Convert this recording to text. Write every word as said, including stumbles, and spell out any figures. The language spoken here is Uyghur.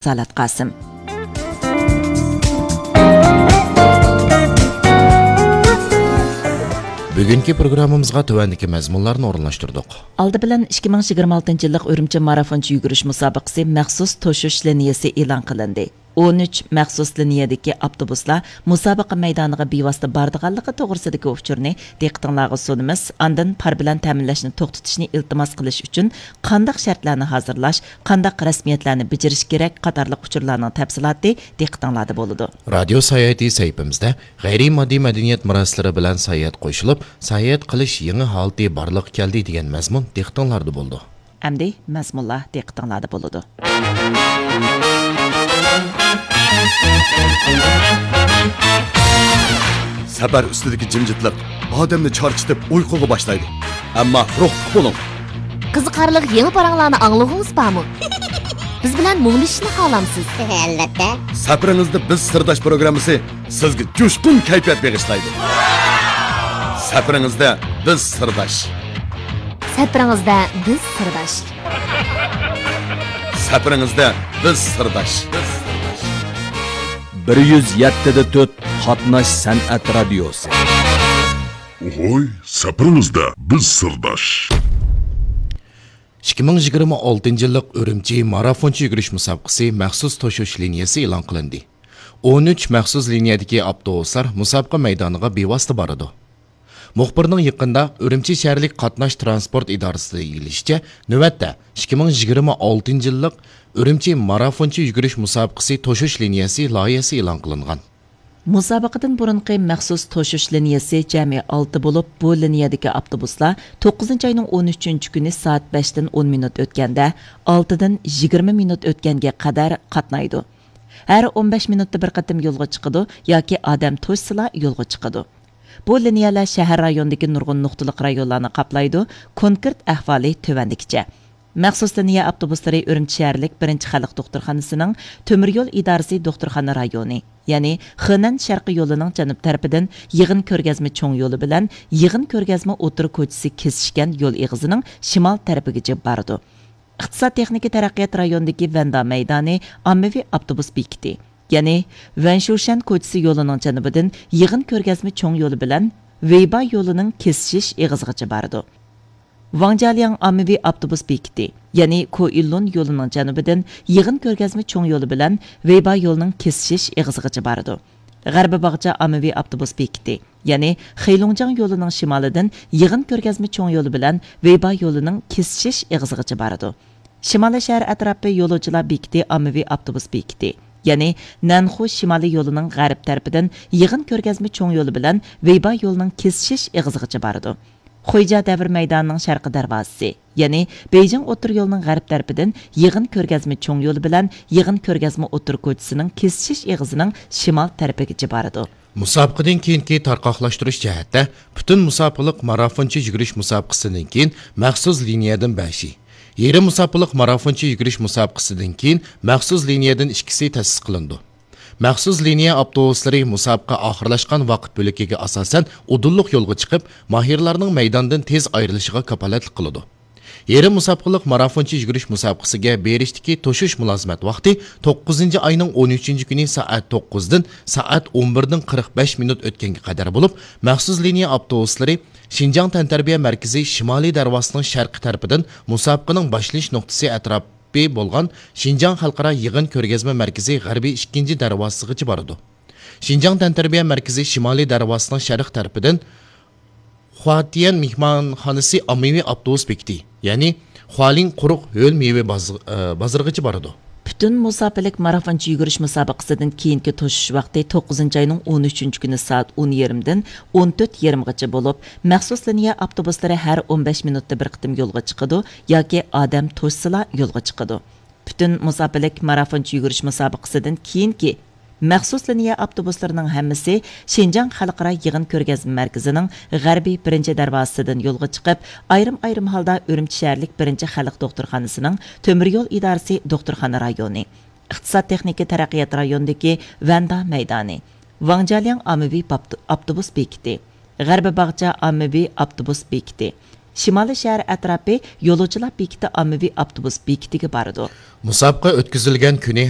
رىسالەت قاسىم. بۈگۈنكى پروگراممىمىزغا تۆۋەندىكى مەزمۇنلارنى ئورۇنلاشتۇردۇق. ئالدى بىلەن ئىككى مىڭ يىگىرمە ئالتىنچى يىللىق ئۈرۈمچى مارافونچە يۈگۈرۈش مۇسابىقىسى مەخسۇس توشۇش لىنىيەسى ئېلان قىلىندى. ئون ئۈچ مەخسۇس لىنىيەدىكى ئاپتوبۇسلار مۇسابىقە مەيدانىغا بىۋاسىتە بارىدىغانلىقى توغرىسىدىكى ئۇچۇرنى دىققىتىڭلارغا سۇنىمىز. ئاندىن پار بىلەن تەمىنلەشنى توختىتىشنى ئىلتىماس قىلىش ئۈچۈن قانداق شەرتلەرنى ھازىرلاش، قانداق رەسمىيەتلەرنى بېجىرىش كېرەك قاتارلىق ئۇچۇرلارنىڭ تەپسىلاتى دىققىتىڭلاردا بولىدۇ. رادىيو ساياھىتى سەھىپىمىزدە غەيرىي ماددىي مەدەنىيەت مۇرەسسىلىرى بىلەن ساياھەت قوشۇلۇپ، ساياھەت قىلىش يېڭى ھالىتى بارلىققا كەلدى دېگەن مەزمۇن دىققىتىڭلاردا بولىدۇ. ئەمدى مەزمۇنلار دىققىتىڭلاردا بولىدۇ. سەپەر ئۈستىدىكى جىمجىتلىق ئادەمنى چارچىتىپ ئۇيقۇغا باشلايدۇ. ئەمما روھلۇق بولۇڭ. قىزىقارلىق يېڭى پاراڭلارنى ئاڭلىغۇڭىز بارمۇ؟ بىز بىلەن مۇڭدىشىشنى خالامسىز؟ ئەلۋەتتە. سەپىرىڭىزدە بىز سىرداش پروگراممىسى سىزگە جۇشقۇن كەيپىيات بېغىشلايدۇ. سەپىرىڭىزدە بىز سىرداش. سەپىرىڭىزدە بىز سىرداش. سەپىرىڭىزدە بىز سىرداش. بىر يۈز يەتتە دە تۆت قاتناش سەنئەت رادىيوسى. ئوھوي، سەپىرىڭىزدە بىز سىرداش. ئىككى مىڭ يىگىرمە ئالتىنچى يىللىق ئۈرۈمچى مارافونچە يۈگۈرۈش مۇسابىقىسى مەخسۇس توشۇش لىنىيەسى ئېلان قىلىندى. ئون ئۈچ مەخسۇس لىنىيەدىكى ئاپتوبۇسلار مۇسابىقە مەيدانىغا بىۋاسىتە بارىدۇ. مۇخبىرنىڭ يېقىندا ئۈرۈمچى شەھەرلىك قاتناش تىرانسپورت ئىدارىسىدا ئىگىلىشىچە، نۆۋەتتە ئىككى مىڭ يىگىرمە ئالتىنچى يىللىق ئۈرۈمچى مارافونچە يۈگۈرۈش مۇسابىقىسى توشۇش لىنىيەسى لايىھەسى ئېلان قىلىنغان. مۇسابىقىدىن بۇرۇنقى مەخسۇس توشۇش لىنىيەسى جەمئىي ئالتە بولۇپ، بۇ لىنىيەدىكى ئاپتوبۇسلار توققۇزىنچى ئاينىڭ ئون ئۈچىنچى كۈنى سائەت بەشتىن ئون مىنۇت ئۆتكەندە، ئالتىدىن يىگىرمە مىنۇت ئۆتكەنگە قەدەر قاتنايدۇ. ھەر ئون بەش مىنۇتتا بىر قېتىم يولغا چىقىدۇ ياكى ئادەم توشسىلا يولغا چىقىدۇ. بۇ لىنىيەلەر شەھەر رايونىدىكى نۇرغۇن نۇقتىلىق رايونلارنى قاپلايدۇ. كونكرېت ئەھۋالى تۆۋەندىكىچە. مەخسۇس لىنىيە ئاپتوبۇسلىرى ئۈرۈمچى شەھەرلىك بىرىنچى خەلق دوختۇرخانىسىنىڭ تۆمۈر يول ئىدارىسى دوختۇرخانا رايونى، يەنى خېنەن شەرقىي يولىنىڭ جەنۇب تەرىپىدىن يىغىن كۆرگەزمە چوڭ يولى بىلەن يىغىن كۆرگەزمە ئوتتۇرا كوچىسى كېسىشكەن يول ئېغىزىنىڭ شىمال تەرىپىگىچە بارىدۇ. ئىقتىساد تېخنىكا تەرەققىيات رايونىدىكى ۋەندا مەيدانى ئاممىۋى ئاپتوبۇس بېكىتى، يەنى ۋەنشۇشەن كوچىسى يولىنىڭ جەنۇبىدىن يىغىن كۆرگەزمە چوڭ يولى بىلەن ۋېيبا يولىنىڭ كېسىشىش ئېغىزىغىچە بارىدۇ. ۋاڭجيالياڭ ئاممىۋى ئاپتوبۇس بېكىتى، يەنى كوئىللۇن يولىنىڭ جەنۇبىدىن يىغىن كۆرگەزمە چوڭ يولى بىلەن ۋېيبا يولىنىڭ كېسىشىش ئېغىزىغىچە بارىدۇ. غەربىي باغچە ئاممىۋى ئاپتوبۇس بېكىتى، يەنى خېيلۇڭجياڭ يولىنىڭ شىمالىدىن يىغىن كۆرگەزمە چوڭ يولى بىلەن ۋېيبا يولىنىڭ كېسىشىش ئېغىزىغىچە بارىدۇ. شىمالىي شەھەر ئەتراپى يولۇچىلار بېكىتى ئاممىۋى ئاپتوبۇس بېكىتى، يەنى نەنخۇ شىمالىي يولىنىڭ غەرب تەرىپىدىن يىغىن كۆرگەزمە چوڭ يولى بىلەن ۋېيبا يولىنىڭ كېسىشىش ئېغىزىغىچە بارىدۇ. خۇيجيا دەۋر مەيدانىنىڭ شەرقىي دەرۋازىسى، يەنى بېيجىڭ ئوتتۇرا يولىنىڭ غەرب تەرىپىدىن يىغىن كۆرگەزمە چوڭ يولى بىلەن يىغىن كۆرگەزمە ئوتتۇرا كوچىسىنىڭ كېسىشىش ئېغىزىنىڭ شىمال تەرىپىگىچە بارىدۇ. مۇسابىقىدىن كېيىنكى تارقاقلاشتۇرۇش جەھەتتە، پۈتۈن مۇساپىلىق مارافونچە يۈگۈرۈش مۇسابىقىسىدىن كېيىن مەخسۇس لىنىيەدىن بەشى، يېرىم مۇساپىلىق مارافونچە يۈگۈرۈش مۇسابىقىسىدىن كېيىن مەخسۇس لىنىيەدىن ئىككىسى تەسىس قىلىنىدۇ. مەخسۇس لىنىيە ئاپتوبۇسلىرى مۇسابىقە ئاخىرلاشقان ۋاقىت بۆلىكىگە ئاساسەن ئۇدۇللۇق يولغا چىقىپ، ماھىرلارنىڭ مەيداندىن تېز ئايرىلىشىغا كاپالەتلىك قىلىدۇ. يېرىم مۇساپىقىلىق مارافونچە يۈگۈرۈش مۇسابىقىسىگە بېرىشتىكى توشۇش مۇلازىمەت ۋاقتى توققۇزىنچى ئاينىڭ ئون ئۈچىنچى كۈنى سائەت توققۇزدىن سائەت ئون بىردىن قىرىق بەش مىنۇت ئۆتكەنگە قەدەر بولۇپ، مەخسۇس لىنىيە ئاپتوبۇسلىرى شىنجاڭ تەنتەربىيە مەركىزى شىمالىي دەرۋازىسىنىڭ شەرقىي تەرىپىدىن مۇسابىقىنىڭ باشلىنىش نۇقتىسى ئەتراپى بولغان شىنجاڭ خەلقئارا يىغىن كۆرگەزمە مەركىزى غەربىي ئىككىنچى دەرۋازىسىغىچە بارىدۇ. شىنجاڭ تەنتەربىيە مەركىزى شىمالىي دەرۋازىسىنىڭ شەرق تەرىپىدىن خۇاتيەن مېھمانخانىسى ئاممىۋى ئاپتوبۇس بېكىتى، يەنى خۇالىڭ قۇرۇق ھۆل مېۋە باز-، ئە، بازىرىغىچە بارىدۇ. پۈتۈن مۇساپىلىك مارافونچە يۈگۈرۈش مۇسابىقىسىدىن كېيىنكى توشۇش ۋاقتى توققۇزىنچى ئاينىڭ ئون ئۈچىنچى كۈنى سائەت ئون يېرىمدىن ئون تۆت يېرىمغىچە بولۇپ، مەخسۇس لىنىيە ئاپتوبۇسلىرى ھەر ئون بەش مىنۇتتا بىر قېتىم يولغا چىقىدۇ ياكى ئادەم توشسىلا يولغا چىقىدۇ. پۈتۈن مۇساپىلىك مارافونچە يۈگۈرۈش مۇسابىقىسىدىن كېيىنكى مەخسۇس لىنىيە ئاپتوبۇسلىرىنىڭ ھەممىسى شىنجاڭ خەلقئارا يىغىن كۆرگەزمە مەركىزىنىڭ غەربىي بىرىنچى دەرۋازىسىدىن يولغا چىقىپ، ئايرىم-ئايرىم ھالدا ئۈرۈمچى شەھەرلىك بىرىنچى خەلق دوختۇرخانىسىنىڭ تۆمۈر يول ئىدارىسى دوختۇرخانا رايونى، ئىقتىساد تېخنىكا تەرەققىيات رايونىدىكى ۋەندا مەيدانى، ۋاڭجيالياڭ ئاممىۋى باپتۇ-، ئاپتوبۇس بېكىتى، غەربىي باغچە ئاممىۋى ئاپتوبۇس بېكىتى، شىمالىي شەھەر ئەتراپى يولۇچىلار بېكىتى ئاممىۋى ئاپتوبۇس بېكىتىگە بارىدۇ. مۇسابىقە ئۆتكۈزۈلگەن كۈنى